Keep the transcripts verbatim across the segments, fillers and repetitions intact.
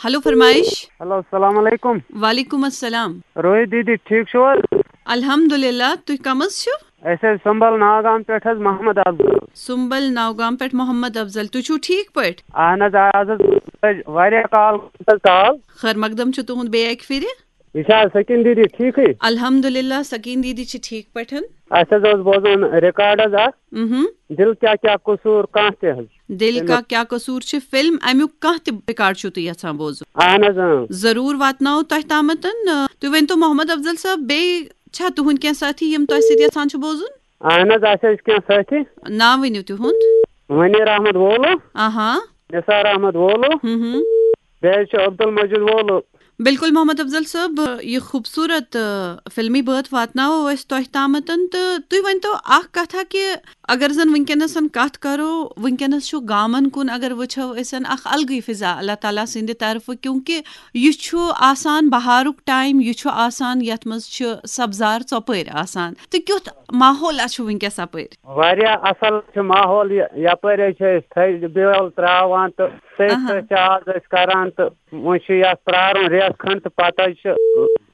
Hello فرمائش۔ Hello, السلام علیکم۔ وعلیکم السلام۔ روحی دیدی، ٹھیک چھو حظ؟ الحمدللہ، تُہۍ کم حظ چھِو؟ أسۍ حظ سُمبل ناگام پٮ۪ٹھ حظ، محمد افضل۔ سُمبل ناگام پٮ۪ٹھ محمد افضل، تُہۍ چھِو ٹھیک پٲٹھۍ؟ اہن حظ، آ، آز حظ لٔج واریاہ کال، حظ کال۔ خیر مقدم چھُ تُہُنٛد بیٚیہِ اَکہِ پھِرِ۔ یہِ چھا سکیٖن دیدی ٹھیکٕے؟ الحمدللہ، سکیٖن دیدی چھِ ٹھیک پٲٹھۍ۔ اَسہِ حظ اوس بوزُن ریکارڈ حظ اکھ، مہم۔ دل کیا کیا قصور کانٛہہ تہِ حظ۔ دل کا کیا قصور چھِ فلم، اَمیُک کانٛہہ تہِ ریکارڈ چھِو تُہۍ یژھان بوزُن؟ اہن حظ، اۭں۔ ضروٗر واتناوو تۄہہِ تامَتَن۔ تُہۍ ؤنۍتو محمد افضل صٲب، بیٚیہِ چھا تُہُنٛد کینٛہہ ساتھی یِم تۄہہِ سۭتۍ یژھان چھِ بوزُن؟ اہن حظ، اَسہِ حظ چھِ کینٛہہ سٲتھی۔ ناو ؤنِو تِہُنٛد۔ منیر احمد وولو۔ آہا۔ نثار احمد وولو۔ ہم ہم۔ بیٚیہِ حظ چھُ عبدالمجید وولو۔ بِلکُل محمد افضل صٲب، یہِ خوٗبصوٗرت، آ، فِلمی بٲتھ واتناوو أسۍ تۄہہِ تامَتَن۔ تہٕ تُہۍ ؤنۍتو اَکھ کَتھا کہِ اگر زَن وٕنکیٚنَس کَتھ کَرو، وٕنکیٚنَس چھُ گامَن کُن اگر وٕچھو أسۍ اَکھ اَلگٕے فِضا اللہ تعالیٰ سٕنٛدِ طرفہٕ، کیونکہ یہِ چھُ آسان بہارُک ٹایم، یہِ چھُ آسان یَتھ منٛز چھُ سبزار ژۄپٲرۍ آسان۔ تہٕ کیُتھ ماحولہ چھُ وٕنکیٚس اَپٲرۍ؟ واریاہ اَصٕل چھُ ماحول یہِ، یَپٲرۍ حظ چھِ أسۍ تھٔج بیول ترٛاوان تہٕ سۭتۍ اہا۔ سۭتۍ چھِ آز أسۍ کَران تہٕ وۄنۍ چھُ یَتھ پرٛارُن رٮ۪تھ کھنٛڈ تہٕ پَتہٕ حظ چھِ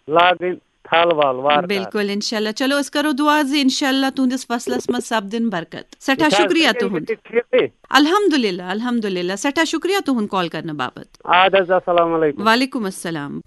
لاگٕنۍ تھل ول وارٕ کارٕ۔ بِلکُل، انشاءاللہ۔ چلو، أسۍ کرو دُعا زِ انشاءاللہ تُہنٛدِس فصلس منٛز سپدن برکت۔ سٮ۪ٹھاہ اچھا، شُکریہ تُہۍ تُہُنٛد۔ ٹھیٖکٕے؟ الحمدللہ، الحمدللہ، سٮ۪ٹھاہ شُکریہ تُہُنٛد کال کرنہٕ باپتھ۔ اَدٕ حظ، السلام علیکم۔ وعلیکم السلام۔